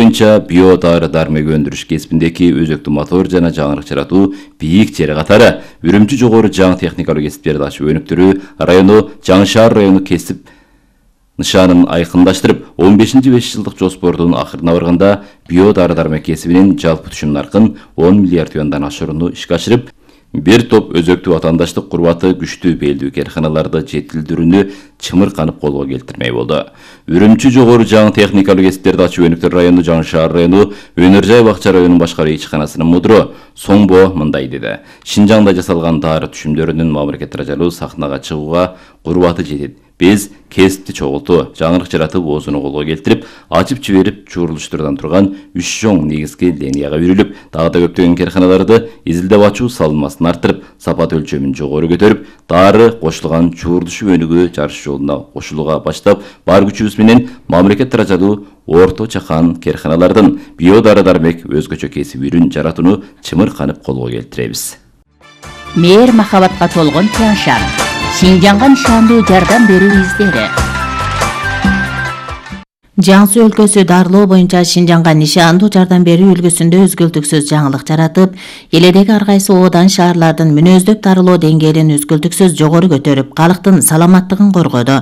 боюнча биодары дармек өндүрүш кесибиндеги өзөктүү мотор жана жаңырык жаратуу бийик жери катары Үрүмчү жогору жаңы техникалык кесиптерди ачуу өнүктүрүү району Жаңы шаар району кесип нышанын айкындаштырып, 15-5 жылдык жоспордун акырына барганда биодары дармек кесибинин жалпы түшүм наркын 10 миллиард юандан ашырууну ишке ашырып, бир топ өзөктүү ватандаштык курбаты күчтүү белдүү карканаларды жетилдирүүнү чымырканып колго келтирмей болду. Үрүмчү жогору жаңы техникалык кесиптерди ачуу өнүктүрүү району Жаңы шаар району Өнөр жай бакча районунун башкаруу ичканасынын мудуру Соңбо мындай деди. Шинжаңда жасалган дары түшүмдөрүнүн мамлекет даражалуу сахнага чыгууга курбаты жетет. Биз кесипти чогултуу, жаңырык жаратып, оозуну колго келтирип, ачып жиберип, чурулуштурдан турган 3 чоң негизги линияга үйрүлүп, дагы да көптөгөн карканаларды изилдеп ачуу салымасын арттырып, сапат өлчөмүн жогору көтөрүп, дары кошулган чуурдушуп өнүгүү жарыш жолуна кошулууга баштап, бар күчүбүз менен мамлекет даражалуу орто чакан карканалардын биодары дармек өзгөчө кесип үрүн жаратууну чымырканып колго келтиребиз. Мээр махабатка толгон Тяньшан. Шинжаңга нышандуу жардам берүү издери. Жаңсы өлкөсү дарылоо боюнча Шинжаңга нишандуу жардам берүү үлгүсүндө үзгүлтүксүз жаңылык жаратып, элдеги ар кайсы оодан шаарлардын мүнөздөп дарылоо деңгээлин үзгүлтүксүз жогору көтөрүп, калктын саламаттыгын коргоду.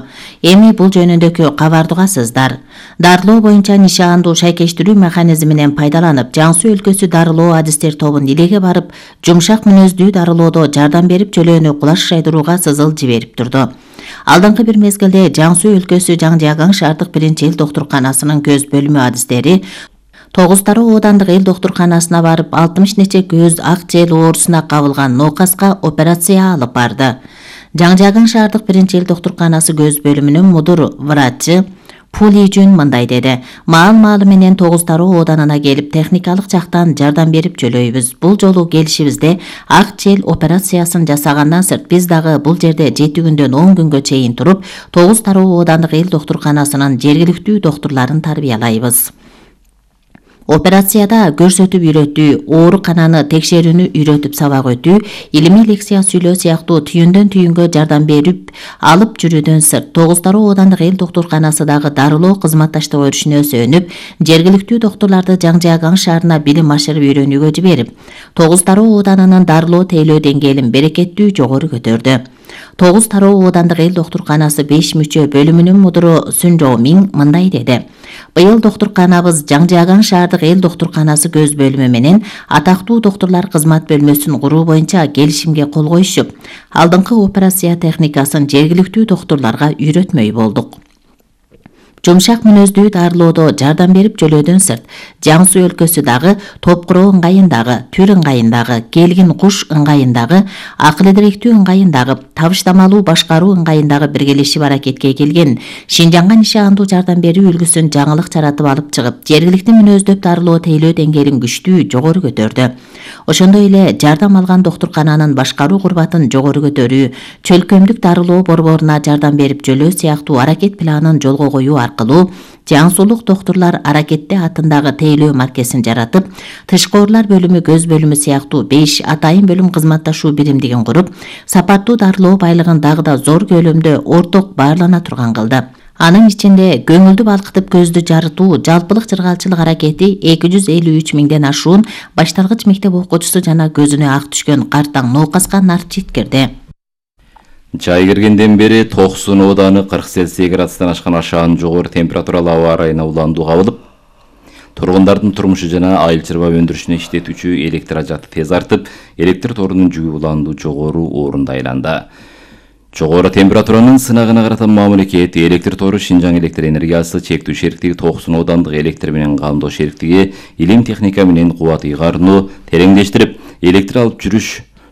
Эми бул жөнүндөгү кабарды угасыздар. Дарылоо боюнча нишандуу шайкештирүү механизминен пайдаланып, Жаңсы өлкөсү дарылоо адистер тобун илеге барып, жумшак мүнөздүү дарылоодо жардам берип, чөлөөнү кулаш шайдырууга сызыл жиберип турду. Алдыңкы бир мезгилде Жаңсы өлкөсү Жаңжаган шаардык биринчи эл доктурканасынын көз бөлүмү адистери 9 Тароо оодандык эл доктурканасына барып 60 нече көз ак жел оорусуна кабылган ноокаска операция алып барды. Жаңжаган шаардык биринчи эл доктурканасы көз бөлүмүнүн мудур врачы Пулижүн мындай деди. Маал-маалы менен 9 Тароо ооданына келип техникалык жактан жардам берип жөлөйбүз. Бул жолу келишибизде ак жел операциясын жасагандан сырт биз дагы бул жерде 7 күндөн 10 күнгө чейин туруп, 9 Тароо оодандык эл доктурканасынын жергиликтүү доктурларын тарбиялайбыз. Операцияда көрсөтүп үйрөтүү, оорукананы текшерүүнү үйрөтүп сабак өтүү, илимий лекция сүйлөө сыяктуу түйүндөн түйүнгө жардам берип алып жүрүүдөн сырт 9 Тароо оодандык эл доктурканасы дагы дарылоо кызматташтык өрүшүнө сөнүп, жергиликтүү доктурларды Жаңжаган шаарына билим ашырып үйрөнүүгө жиберип, 9 Тароо ооданынын дарылоо тейлөө деңгээлин берекеттүү жогору көтөрдү. 9 Тароо оодандык эл доктурканасы 5 мүчө бөлүмүнүн мудуру Сүнжоомин мындай деди. Быйыл доктурканабыз Жаңжаган шаардык эл доктурканасы көз бөлүмү менен атактуу доктурлар кызмат бөлмөсүн куруу боюнча келишимге кол коюшуп, алдыңкы операция техникасын жергиликтүү доктурларга үйрөтмөй болдук. Жумшак мүнөздүү дарылоодо жардам берип жөлөөдөн сырт, Жаңсы өлкөсү дагы Топкуроо ыңгайындагы, Түр ыңгайындагы, Келгин Куш ыңгайындагы, Акыл Идиректүү ыңгайындагы, Табыштамалуу башкаруу ыңгайындагы биргелешип аракетке келген Шинжаңга нишандуу жардам берүү үлгүсүн жаңылык жаратып алып чыгып, жергиликти мүнөздөп дарылоо тейлөө деңгээлин күчтүү жогору көтөрдү. Ошондой эле жардам алган доктуркананын башкаруу курбатын жогору көтөрүү, чөлкөмдүк дарылоо борборуна жардам берип жөлөө сыяктуу аракет планын жолго коюу аркылуу Жаңсулук доктурлар аракетте атындагы тейлөө маркесин жаратып, тышкы оорулар бөлүмү көз бөлүмү сыяктуу 5 атайын бөлүм кызматташуу биримдигин куруп, сапаттуу дарылоо байлыгын дагы да зор көлөмдө орток баарлана турган кылды. Анын ичинде көңүлдү балкытып көздү жарытуу жалпылык жыргалчылык аракети 253 миңден ашуун башталгыч мектеп окуучусу жана көзүнө ак түшкөн картаң ноокаска нарт жеткирди. Жай киргенден бери Токсун ооданы 40 Цельсий градустан ашкан ашаан жогору температуралуу аба ырайына уландуу кабылып, тургундардын турмушу жана айыл чарба өндүрүшүнө иштетүүчү электр ажаты тез артып, электр торунун жүгү уландуу жогору орунда айланды. Жогору температуранын сынагына карата мамлекет электр тору Шинжаң электр энергиясы чектүү шериктиги Токсун оодандык электр менен камдоо шериктиги илим техника менен кубат ыйгарууну тереңдештирип, электр алып жүрүш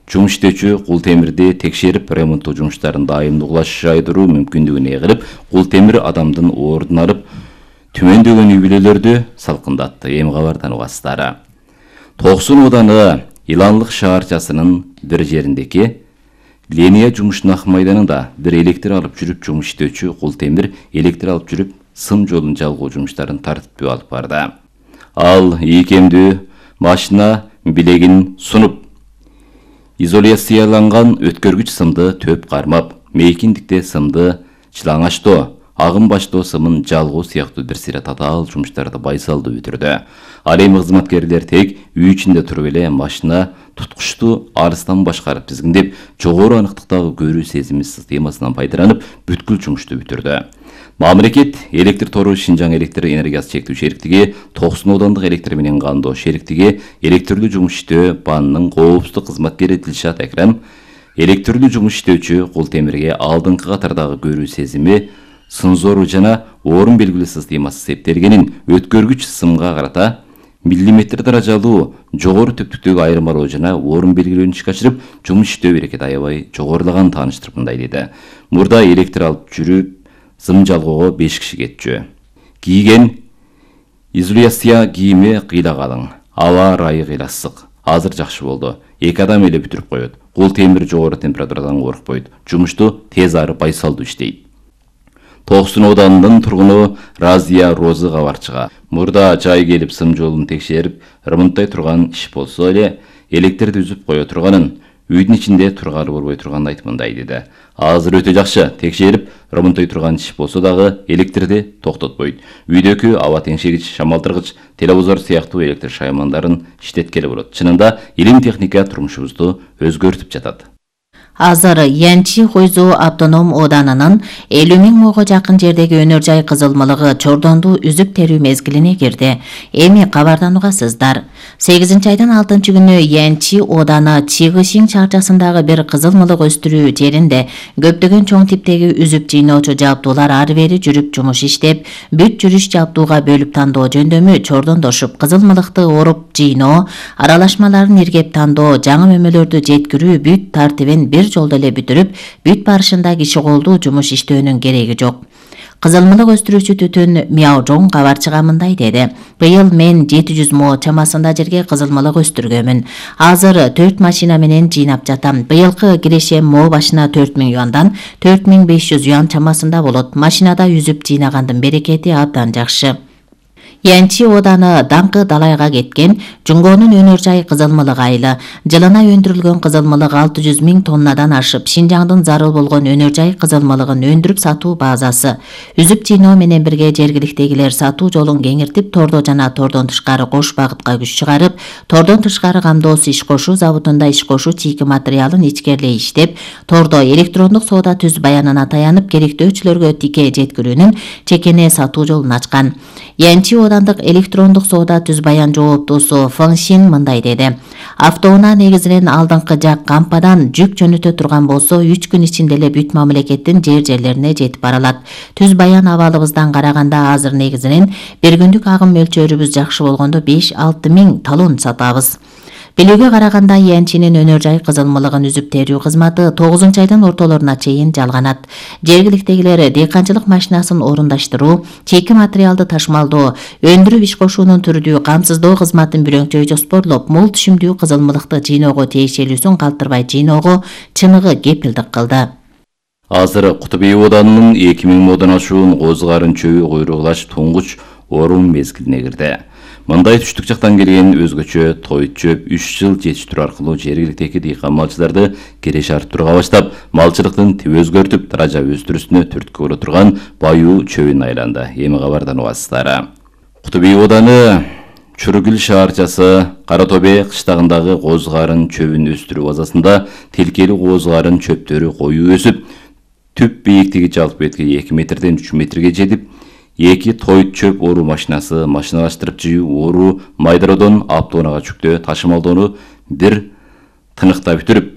жум иштөөчү кул темирди текшерип, ремонттоо жумуштарын дайымдуу кулаш шайдыруу мүмкүндүгүн эгирип, кул темир адамдын оорун алып, түмөндөгөн үй бүлөлөрдү салкындатты. Эми кабардан угасыздар. Токсун ооданы Иланлык шаарчасынын бир жериндеги линия жумушунун ак майданында бир электр алып жүрүп жумуш иштөөчү кул темир электр алып жүрүп сым жолун жалгоо жумуштарын тартиптүү алып барды. Ал ийкемдүү машина билегин сунуп, изоляцияланган өткөргүч сымды төп кармап, мейкиндикте сымды чылаңачтоо, агым баштоо сымын жалгоо сыяктуу бир сыйра татаал жумуштарды байсалдуу бүтүрдү. Ал эми кызматкерлер тек үй ичинде туруп эле машина туткучту алыстан башкарып тизгиндеп, жогору аныктыктагы көрүү сезими системасынан пайдаланып, бүткүл жумушту бүтүрдү. Мамлекет электр тору Шинжаң электр энергиясы чектүү шериктиги, 90 оодандык электр менен кандоо шериктиги, электрлүү жумуш иштөө банынын коопсуздук кызматкери Дилшат Экрам электрлүү жумуш иштөөчү Култемирге алдыңкы катардагы көрүү сезими, сензору жана орун белгилүү системасы септелгенин, өткөргүч сымга карата миллиметр даражалуу жогору төптүктөгү айырмалоо жана орун белгилөөнү ишке ашырып, жумуш иштөө берекети аябай жогорулаганын тааныштырып мындай деди. Мурда электр алып жүрүп, сым жалгоого 5 киши кетчү. Кийген изоляция кийими кыйла калың. Аба ырайы кыйла ысык. Азыр жакшы болду. 2 адам эле бүтүрүп коет. Култемир жогору температурадан коркпойт. Жумушту тез ары байсалдуу иштейт. 90 оодандын тургуну Разия Розы кабарчыга. Мурда жай келип сым жолун текшерип, ремонттой турган иш болсо эле электрди үзүп кое турганын, үйдүн ичинде тургалы болбой турганын айтып мындай деди. Азыр өтө жакшы, текшерип, ремонттой турган иш болсо дагы электрди токтотпойт. Үйдөгү аба теңшегич, шамалтыргыч, телевизор сыяктуу электр шаймандарын иштеткеле болот. Чынында илим техника турмушубузду өзгөртүп жатат. Азыр Янчи Хойзу автоном ооданынын 50 000 муга жакын жердеги өнөр жай кызылмалыгы чордонду үзүп терүү мезгилине кирди. Эми кабардан угасыздар. 8-айдын 6-күнү Янчи ооданы Чигышин чарчасындагы бир кызылмалык өстүрүү жеринде көптөгөн чоң типтеги үзүп жыйноочу жабдуулар ары бери жүрүп жумуш иштеп, бүт жүрүш жабдууга бөлүп тандоо жөндөмү чордондошуп, кызылмалыкты оруп жыйноо, аралашмаларын иргеп тандоо, жаңы мөмөлөрдү жеткирүү бүт тартибин бир жолдо эле бүтүрүп, бүт барышында киши колдуу жумуш иштөөнүн кереги жок. Кызылмалык өстүрүүчү Түтүн Мяожоң кабарчыга мындай деди. Быйыл мен 700 мо чамасында жерге кызылмалык өстүргөмүн. Азыр 4 машина менен жыйнап жатам. Быйылкы кирешем мо башына 4000 юандан 4500 юан чамасында болот. Машинада үзүп жыйнагандын берекети абдан жакшы. Янчи ооданы даңкы далайга кеткен Жунгонун өнөр жай кызылмалык айылы. Жылына өндүрүлгөн кызылмалык 600 000 тоннадан ашып, Шинжаңдын зарыл болгон өнөр жай кызылмалыгын өндүрүп сатуу базасы. Үзүп жыйноо менен бирге жергиликтегилер сатуу жолун кеңиртип, тордо жана тордон тышкары кош багытка күч чыгарып, тордон тышкары камдоосу иш кошуу заводунда иш кошуу чийки материалын ичкерлей иштеп, тордо электрондук соода түз баянына таянып, керектөөчүлөргө тике жеткирүүнүн чекене сатуу жолун ачкан. Янчи оодандык электрондук соода түз баян жооптуусу Фыңшин мындай деди. Автоунаа негизинен алдыңкы жак кампадан жүк жөнөтө турган болсо, 3 күн ичинде эле бүт мамлекеттин жерлерине жетип баралат. Түз баян абалыбыздан караганда азыр негизинен бир күндүк агым мөлчөрүбүз жакшы болгондо 5-6 000 талон сатабыз. Билүүгө караганда Янчинин өнөр жай кызылмалыгын үзүп терүү кызматы 9-айдын ортолоруна чейин жалганат. Жергиликтегилер дыйканчылык машинасын орундаштыруу, чийки материалды ташымалдоо, өндүрүп иш кошуунун түрдүү камсыздоо кызматын бүрөңчөй жоспорлоп, мол түшүмдүү кызылмалыкты жыйноого тиешелүүсүн калтырбай жыйноого чыныгы кепилдик кылды. Азыр Кутубей ооданынын 2000 модон ашуун козгарын чөбү куйругулаш туңгуч орун мезгилине кирди. Мындай түштүк жактан келген өзгөчө тойт чөп 3 жыл жетиштирүү аркылуу жергиликтеги дыйкан малчыларды кереш артырууга баштап, малчылыктын тип өзгөртүп, даража өстүрүүсүнө түрткү боло турган баюу чөбүн айланды. Эми кабардан угасыздар. Кутубей ооданы Чүрүгүл шаарчасы Кара Тобе кыштагындагы козгарын чөбүн өстүрүү базасында тилкели козгарын чөптөрү коюу өсүп, түп бийиктиги жалпы бетки 2 метрден 3 метрге жетип, 2 тойт чөп оруу машинасы, машиналаштырып жыюу оруу майдародон автоунаага жүктөө ташымалдоону бир тыныкта бүтүрүп,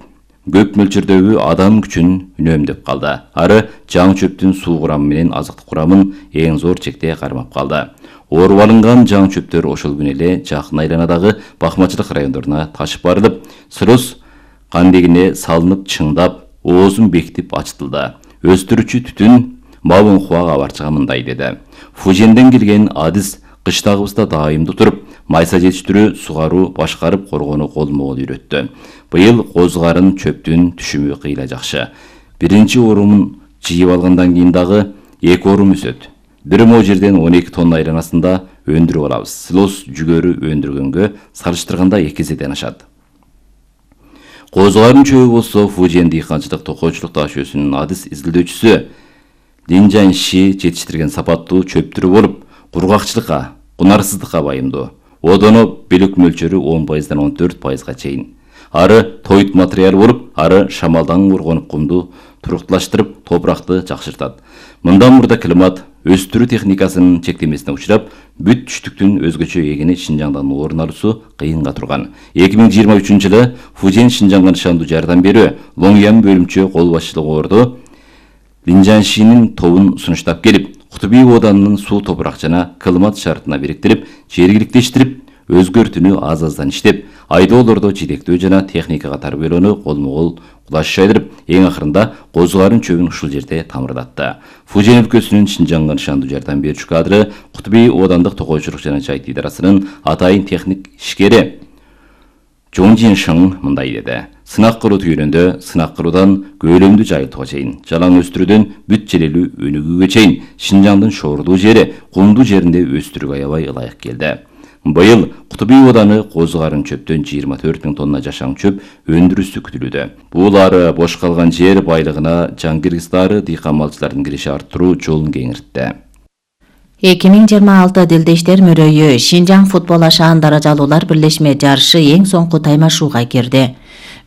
көп мөлчөрдөгү адам күчүн үнөмдөп калды. Ары жаңы чөптүн суу курамы менен азыктык курамын эң зор чекте кармап калды. Оруп алынган жаңы чөптөр ошол күнү эле жакын айланадагы бакмачылык райондоруна ташып барылып, сырос кандегине салынып чыңдап, оозун бекитип ачтылды. Өстүрүүчү Түтүн Мабунхуа кабарчыга мындай деди. Фуженден келген адис кыштагыбызда дайымдуу туруп, майса жетиштирүү, сугаруу, башкарып коргоону колмо-кол үйрөттү. Быйыл козгарын чөптүн түшүмү кыйла жакшы. Биринчи орумун жыйып алгандан кийин дагы 2 орум өсөт. 1 мо жерден 12 тонна айланасында өндүрүп алабыз. Силос жүгөрү өндүргөнгө салыштырганда 2 эседен ашат. Козгарын чөбү болсо Фужен дыйканчылык токойчулук таш өсүүнүн адис изилдөөчүсү Линжанши жетиштирген сапаттуу чөп түрү болуп, кургакчылыкка, кунарсыздыкка байымдуу. Одоно белек мөлчөрү 10%-дан 14%га чейин. Ары тоют материал болуп, ары шамалдан коргонуп кумду турукташтырып, топуракты жакшыртат. Мындан мурда климат өстүрүү техникасынын чектемесине учурап, бүт түштүктүн өзгөчө эгини Шинжаңдан орун алуусу кыйынга турган. 2023-жылы Фужен Шинжаңга нышандуу жардам берүү Лоңян бөлүмчө кол башчылыгы орду Линжаншинин тобун сунуштап келип, Кутуби оданынын суу топурак жана климат шартына бириктирип, жергиликтештирип, өзгөртүүнү аз-аздан иштеп, айдоолордо жетектөө жана техникага тарбиялоону колмо-кол кулаш жайдырып, эң акырында козугарын чөбүн ушул жерде тамырдатты. Фужен өлкөсүнүн Шинжаңга нышандуу жардам берүүчү кадры Кутуби одандык токойчулук жана жайыт идарасынын атайын техник ишкери Жонжин Шың мындай деди. Сынак кылуу түйүнүндө сынак кылуудан көөлөмдүү жайылтууга чейин, жалаң өстүрүүдөн бүт желелүү өнүгүүгө чейин Шинжаңдын шоордуу жери, кумдуу жеринде өстүрүүгө аябай ылайык келди. Быйыл Кутуби оданы козугарын чөптөн 24 000 тонна жашаң чөп өндүрүшү күтүлүүдө. Бул ары бош калган жер байлыгына жаңгиргистары дыйкан малчылардын кириши арттыруу жолун кеңиртти. 2026 Дилдештер мөрөйү Шинжаң футбол ашаан даражалуулар бирлешме жарышы эң соңку таймашууга кирди.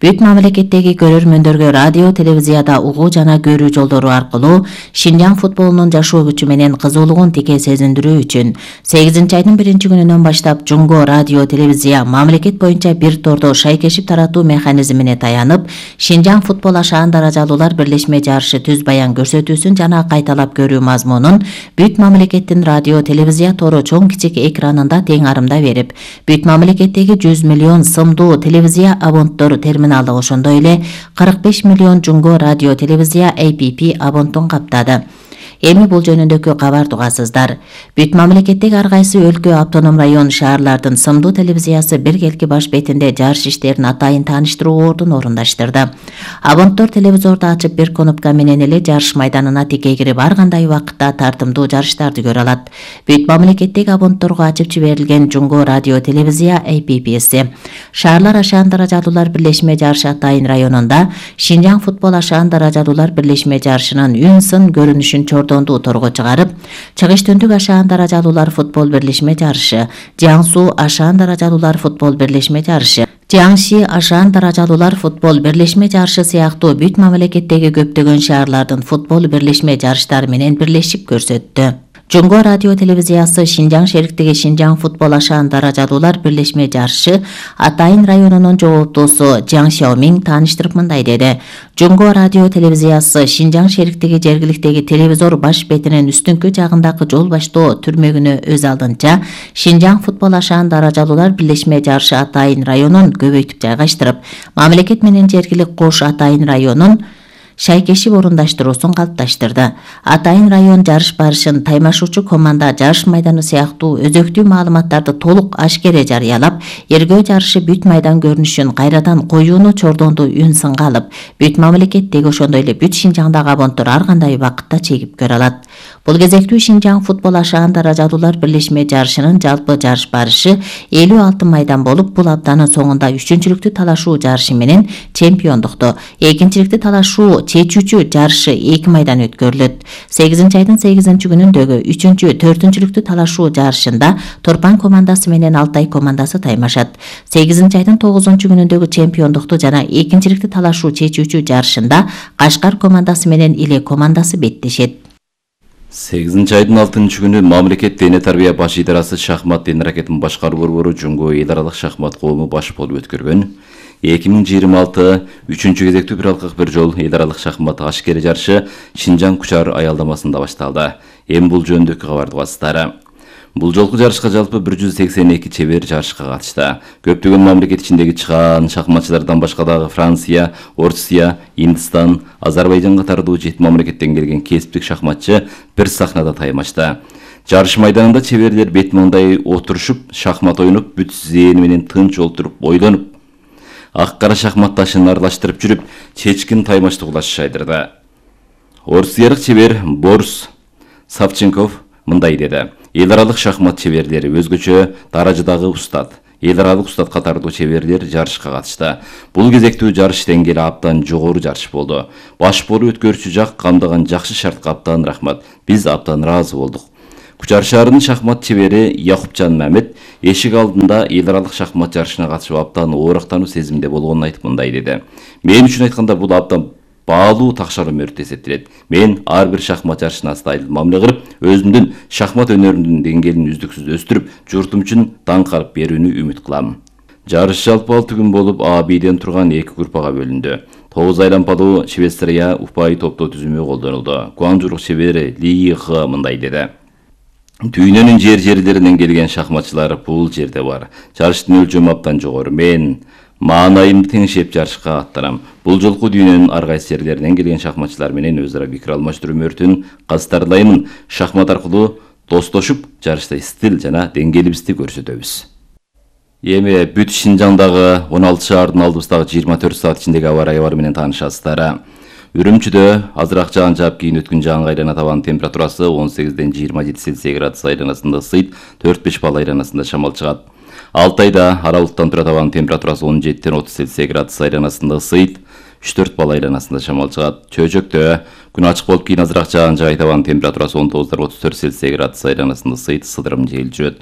Бүт мамлекеттеги көрөрмөндөргө радио, телевизияда угуу жана көрүү жолдору аркылуу Шинжаң футболунун жашоо күчү менен кызуулугун тике сезиндирүү үчүн 8-айдын 1-күнүнөн баштап Жунго радио, телевизия мамлекет боюнча бир тордо шайкешип таратуу механизмине таянып, Шинжаң футбол ашаан даражалуулар бирлешме жарышы түз баян көрсөтүүсүн жана кайталап көрүү мазмунун бүт мамлекеттин радио, телевизия тору чоң кичик экранында тең арымда берип, бүт мамлекеттеги 100 миллион сымдуу телевизия абонттор терминалды ошондой эле 45 миллион Жунго радио, телевизия APP абонтун каптады. Эми бул жөнүндөгү кабарды угасыздар. Бүт мамлекеттеги ар кайсы өлкө, автоном район, шаарлардын сымдуу телевизиясы биргелки баш бетинде жарыш иштерин атайын тааныштыруу ордун орундаштырды. Абонттор телевизорду ачып бир кнопка менен эле жарыш майданына тике кирип, ар кандай убакытта тартымдуу жарыштарды көрө алат. Бүт мамлекеттеги абонтторго ачып жиберилген Жунго радио, телевизия APP-си. Шаарлар ашаан даражалуулар бирлешме жарышы Атайын районунда Шинжаң футбол ашаан даражалуулар бирлешме жарышынын үн-сын көрүнүшүн чордонду торго чыгарып, Чыгыш түндүк ашаан даражалуулар футбол бирлешме жарышы, Жаңсу ашаан даражалуулар футбол бирлешме жарышы, Жаңши ашаан даражалуулар футбол бирлешме жарышы сыяктуу бүт мамлекеттеги көптөгөн шаарлардын футбол бирлешме жарыштары менен бирлешип көрсөттү. Жунго радио, телевизиясы Шинжаң шериктиги Шинжаң футбол ашаан даражалуулар бирлешме жарышы Атайын районунун жооптуусу Жаң Шаомиң тааныштырып мындай деди. Жунго радио, телевизиясы Шинжаң шериктиги жергиликтеги телевизор баш бетинин үстүңкү жагындагы жол баштоо түрмөгүнө өз алдынча Шинжаң футбол ашаан даражалуулар бирлешме жарышы Атайын районун көбөйтүп жайгаштырып, мамлекет менен жергилик кош Атайын районун шайкешип орундаштыруусун калыпташтырды. Атайын район жарыш барышын таймашуучу команда жарыш майданы сыяктуу өзөктүү маалыматтарды толук ашкере жарыялап, эргөө жарышы бүт майдан көрүнүшүн кайрадан коюуну чордонду үн-сынга алып, бүт мамлекеттеги ошондой эле бүт Шинжаңдагы абонттор ар кандай убакытта чегип көрө алат. Бул кезектүү Шинжаң футбол ашаан даражалуулар бирлешме жарышынын жалпы жарыш барышы 56 майдан болуп, бул аптанын соңунда 3-чүлүктү талашуу жарышы менен чемпиондукту, 2-чиликти талашуу чечүүчү жарышы 2 майдан өткөрүлөт. 8-айдын 8-күнүндөгү 3-чү, 4-чүлүктү талашуу жарышында Торпан командасы менен Алтай командасы таймашат. 8-айдын 9-күнүндөгү чемпиондукту жана 2-чиликти талашуу чечүүчү жарышында Кашкар командасы менен Иле командасы беттешет. 8-айдын 6-күнү мамлекет дене тарбия баш идарасы шахмат дене ракетин башкаруу борбору Жунго эл аралык шахмат коому баш болуп өткөргөн 2026 3-чү кезектүү бир алкак бир жол эл аралык шахмат ашкери жарышы Шинжаң Кучар аялдамасында башталды. Эми бул жөнүндөгү кабарды угасыздар. Бул жолку жарышка жалпы 182 чебер жарышка катышты. Көптөгөн мамлекет ичиндеги чыгаан шахматчылардан башка дагы Франция, Орусия, Индистан, Азербайжан катардуу 7 мамлекеттен келген кесиптик шахматчы бир сахнада таймашты. Жарыш майданында чеберлер бет маңдай отурушуп, шахмат ойноп, бүт зээни менен тынч олтуруп, ойлонуп, ак-кара шахмат ташын аралаштырып жүрүп, чечкин таймашты кулаш жайдырды. Орусиялык чебер Борис Савченков мындай деди. Эл аралык шахмат чеберлери өзгөчө даражадагы устат. эл аралык устат катардуу чеберлер жарышка катышты. Бул кезектүү жарыш деңгээли абдан жогору жарыш болду. Баш болуп өткөрүүчү жак камдаган жакшы шартка абдан рахмат. Биз абдан ыраазы болдук. Кучар шаарынын шахмат чебери Якупжан Мамет эшик алдында эл аралык шахмат жарышына катышып абдан оорактануу сезимде болгонун айтып мындай деди. Мен үчүн айтканда бул абдан баалуу такшар өмүрү эсептелет. Мен ар бир шахмат жарышына астайыл мамиле кылып, өзүмдүн шахмат өнөрүмдүн деңгээлин үздүксүз өстүрүп, журтум үчүн даңк алып берүүнү үмүт кылам. Жарыш жалпы 6 күн болуп, А-Б'ден турган 2 группага бөлүндү. 9 айлампалуу Швейцария упай топтоо түзүмү колдонулду. Гуанчжурук чебери Ли Х мындай деди. Дүйнөнүн жерлеринен келген шахматчылар бул жерде бар. Жарыштын өлчөмү абдан жогору. Мен маанайымды теңшеп жарышка аттанам. Бул жолку дүйнөнүн ар кайсы жерлеринен келген шахматчылар менен өз ара пикир алмаштыруу өмүрүн кастарлаймын. Шахмат аркылуу достошуп, жарышта стил жана деңгээлибизди көрсөтөбүз. Эми бүт Шинжаңдагы 16 шаардын алдыбыздагы 24 саат ичиндеги аба ырайы менен таанышасыздар. Үрүмчүдө азыраак жаан жаап кийин өткөн жаанга айлана табан температурасы 18-ден 27 Цельсий градус айланасында ысыйт, 4-5 балл айланасында шамал чыгат. Алтайда аралыктан тура табан температурасы 17-ден 30 Цельсий градус айланасында ысыйт, 3-4 балл айланасында шамал чыгат. Чөйжөктө күн ачык болуп кийин азыраак жаан жаай табан температурасы 19-дан 34 Цельсий градус айланасында ысыйт, сыдырым жел жүрөт.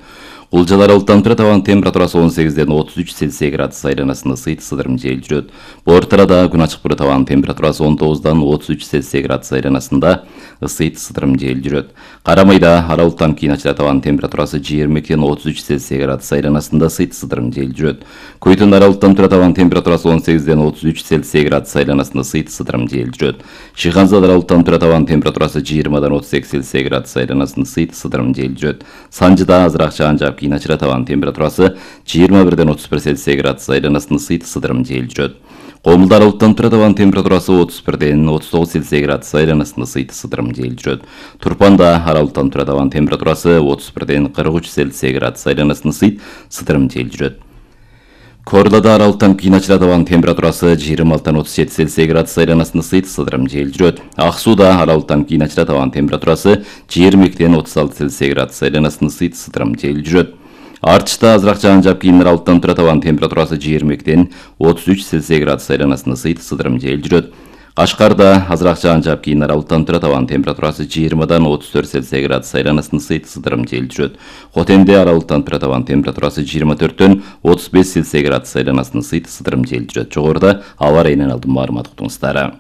Кулжалар аралыктан тура табан температурасы 18-ден 33 Цельсий градус айланасында ысыйт, сыдырым жел жүрөт. Бортарада күн ачык тура табан температурасы 19-дан 33 Цельсий градус айланасында ысыйт, сыдырым жел жүрөт. Карамайда аралыктан кийин ачыла табан температурасы 22-ден 33 Цельсий градус айланасында ысыйт, сыдырым жел жүрөт. Көйтөн аралыктан тура табан температурасы 18-ден 33 Цельсий градус айланасында ысыйт, сыдырым жел жүрөт. Шыханзада аралыктан тура табан температурасы 20-дан 32 Цельсий градус айланасында ысыйт, сыдырым жел жүрөт. Санжыда азыраак жаан жаап кийин ачыла табан температурасы 21-ден 31 Цельсий градус айланасында ысыйт, сыдырым жел жүрөт. Комулда аралыктан тура табан температурасы 31-ден 39 Цельсий градус айланасында ысыйт, сыдырым жел жүрөт. Турпанда аралыктан тура табан температурасы 31-ден 43 Цельсий градус айланасында ысыйт, сыдырым жел жүрөт. Корлада аралыктан кийин ачыла табан температурасы 26-дан 37 Цельсий градус айланасында ысыйт, сыдырым жел жүрөт. Ак сууда аралыктан кийин ачыла табан температурасы 22-ден 36 Цельсий градус айланасында ысыйт, сыдырым жел жүрөт. Артышта азыраак жаан жаап кийин аралыктан тура табан температурасы 22-ден 33 Цельсий градус айланасында ысыйт, сыдырым жел жүрөт. Кашкарда азыраак жаан жаап кийин аралыктан тура табан температурасы 20-дан 34 Цельсий градус айланасында ысыйт, сыдырым жел жүрөт. Хотенде аралыктан тура табан температурасы 24-төн 35 Цельсий градус айланасында ысыйт, сыдырым жел жүрөт. Жогоруда аба ырайынан алдын маалымат уктуңуздар.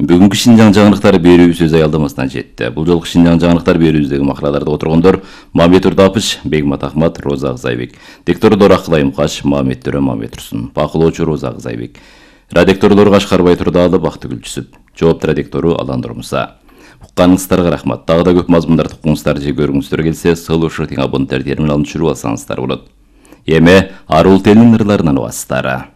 Бүгүнкү Шинжаң жаңылыктары берүүбүз өз аялдамасына жетти. Бул жолку Шинжаң жаңылыктар берүүбүздөгү макалаларда отургондор Мамет Урдапыч, Бегмат Ахмат, Роза Акзайбек. Диктордор Акылайым Каш, Мамет Төрө, Мамет Турсун. Бакылоочу Роза Акзайбек. Радикторлор Кашкарбай Турдаалы, Бактыгүл Жүсүп. Жоопту радиктору Алан Нурмуса. Укканыңыздарга рахмат. Дагы да көп мазмундарды укуңуздар же көрүңүздөр келсе, сылышы тиң абоненттер терминалын түшүрүп алсаңыздар болот. Эми арул телинин ырларынан угасыздар.